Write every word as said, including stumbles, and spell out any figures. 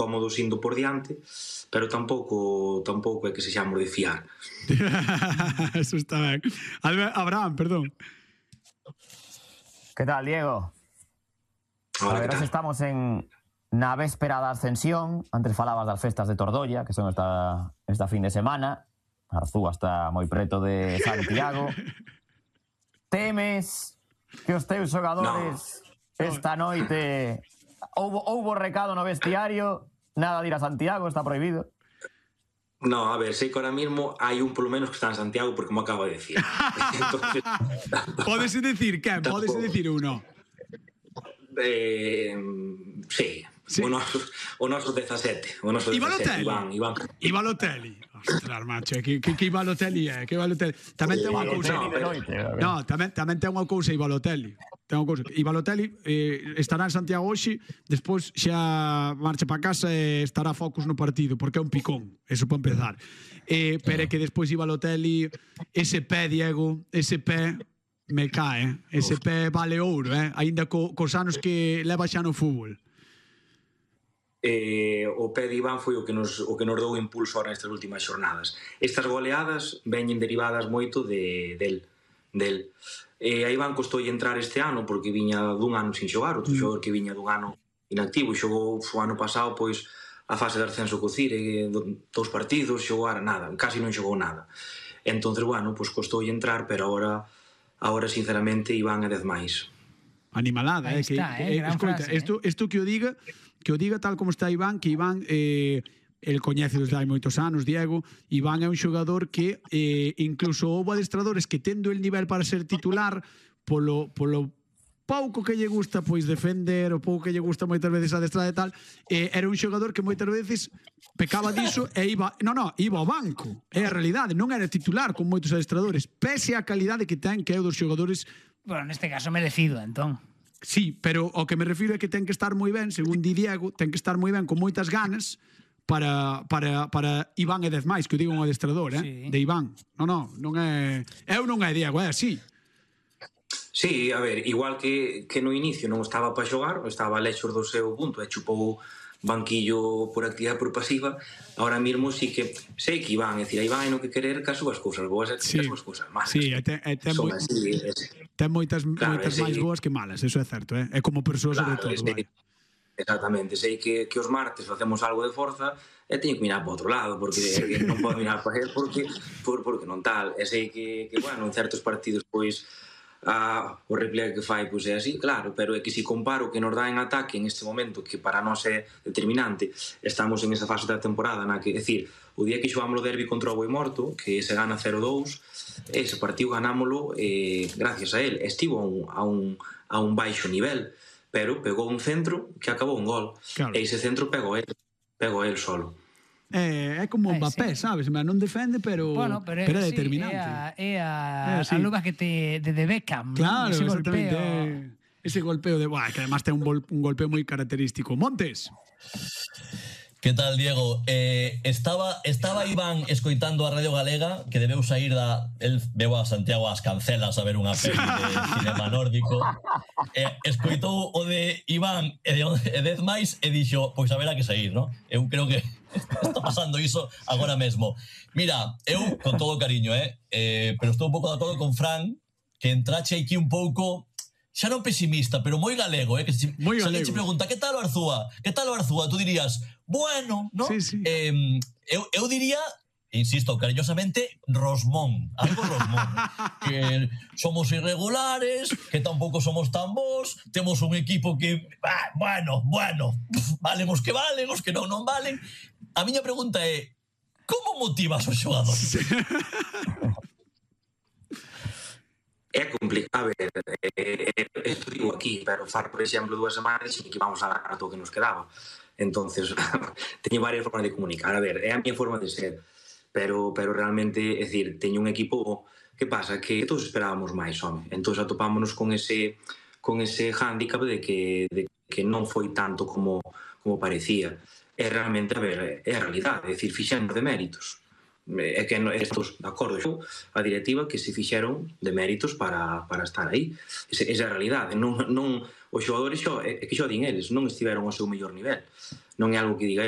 cómodos indo por diante, pero tampouco tampouco é que sexamos de fiar. Eso está ben. Abraham, perdón. Que tal, Diego? Hola, a ver, que tal? estamos en na véspera da ascensión. Antes falabas das festas de Tordolla, que son esta, esta fin de semana. Arzúa está moi preto de Santiago. Temes que os teus xogadores no. esta noite houbo, houbo recado no vestiario, nada de ir a Santiago, está prohibido? No, a ver, sei que ahora mismo hai un polo menos que está en Santiago porque me acaba de decir. Entonces, Podes decir que? Podes decir uno? Eh, sí, sí. O noso, o noso dezasete, o noso dezasete, Iván, Iván. E Balotelli. Ostras, macho, que, que, que Balotelli é, que Balotelli. Tamén ten unha cousa. No, pero... no, tamén, tamén ten unha cousa e Balotelli. Ten unha cousa. E Balotelli eh, estará en Santiago hoxe, despois xa marcha para casa e estará focus no partido, porque é un picón, eso para empezar. Eh, pero é que despois e Balotelli, ese pé, Diego, ese pé me cae, ese pé vale ouro, eh? Ainda co, cos anos que leva xa no fútbol. Eh, o pé de Iván foi o que nos, o que nos dou impulso ahora nestas últimas xornadas. Estas goleadas veñen derivadas moito de, del, del. Eh, a Iván costou entrar este ano porque viña dun ano sin xogar, outro mm. xogador que viña dun ano inactivo, xogou o ano pasado pois a fase de ascenso co Cire, dous partidos, xogar nada, casi non xogou nada. Entonces, bueno, pois costou entrar, pero agora Ahora, sinceramente, Iván é dez máis. Animalada, eh? Está, que, eh? eh escoita, frase, esto, esto que o diga, que o diga tal como está Iván, que Iván, eh, el coñece desde hai moitos anos, Diego, Iván é un xogador que eh, incluso houve adestradores que tendo el nivel para ser titular, polo, polo pouco que lle gusta pois defender, o pouco que lle gusta moitas veces adestrar e tal, eh, era un xogador que moitas veces pecaba diso e iba, no, no, iba ao banco. É a realidade, non era titular con moitos adestradores, pese a calidade que ten, que é o dos xogadores. Bueno, neste caso merecido, entón. Sí, pero o que me refiro é que ten que estar moi ben, según di Diego, ten que estar moi ben con moitas ganas para para para Iván e dez máis, que o digo un adestrador, eh, sí. de Iván. No, no, non é, eu non é Diego, é así. Sí, a ver, igual que, que no inicio non estaba para xogar, estaba lexos do seu punto e chupou banquillo por actividade por pasiva, ahora mesmo sí que sei que Iván, é dicir, a Iván é no que querer que as súas cousas boas e que sí. as súas cousas malas. Sí, e ten, e ten, moi, así, ten moitas, claro, moitas máis boas que malas, eso é certo, eh? É como persoa claro, sobre todo. Sei, exactamente, sei que, que os martes facemos algo de forza e teño que mirar para outro lado, porque non podo mirar para él porque, por, porque non tal, e sei que, que bueno, en certos partidos, pois, Ah, o repliegue que fai pois é así, claro, pero é que se comparo o que nos dá en ataque en este momento, que para nós é determinante, estamos en esa fase da temporada na que, é dicir, o día que xogamos o derbi contra o Boimorto, que se gana cero dous, ese partido ganámolo eh, gracias a él, estivo a un, a un, a un baixo nivel, pero pegou un centro que acabou un gol, claro. E ese centro pegou él, pegou él solo. É, é como Mbappé, sí. Sabes? Non defende, pero, bueno, pero, pero é sí, determinante. É a, é a, sí. a luva que te, de, de Beckham. Claro, ese exactamente. Golpeo. Ese golpeo de... Buah, que además ten un, gol, un golpeo moi característico. Montes. Que tal, Diego? Eh, estaba estaba Iván escoitando a Radio Galega, que debeu sair da... El veu a Santiago ás Cancelas a ver unha peli de cinema nórdico. Eh, escoitou o de Iván e de, e dez máis e dixo, pois a ver a que sair, non? Eu creo que está pasando iso agora mesmo. Mira, eu, con todo cariño, eh, eh pero estou un pouco de acordo con Fran, que entrache aquí un pouco... xa non pesimista, pero moi galego, eh? Que se, moi galego. Se galego. te pregunta, que tal o Arzúa? Que tal o Arzúa? Tú dirías, bueno, ¿no? Sí, sí. Eh, eu, eu diría, insisto, cariñosamente, Rosmón, algo Rosmón. Que somos irregulares, que tampouco somos tan bons, temos un equipo que, ah, bueno, bueno, valen os que valen, os que non non valen. A miña pregunta é, como motivas os xogadores? É complicado, a ver, eh, eh, esto digo aquí, pero far, por exemplo, dúas semanas e que vamos a ganar todo o que nos quedaba. Entonces, teño varias formas de comunicar. A ver, é a miña forma de ser, pero pero realmente, é dicir, teño un equipo, que pasa? Que todos esperábamos máis, home. Entón, atopámonos con ese con ese hándicap de que, de que non foi tanto como, como parecía. É realmente, a ver, é a realidade, é dicir, fixemos de méritos. É que estos, de acordo, a directiva que se fixeron de méritos para, para estar aí. Esa é a realidade. Non, non, os xogadores xo, é que xo din eles, non estiveron ao seu mellor nivel. Non é algo que diga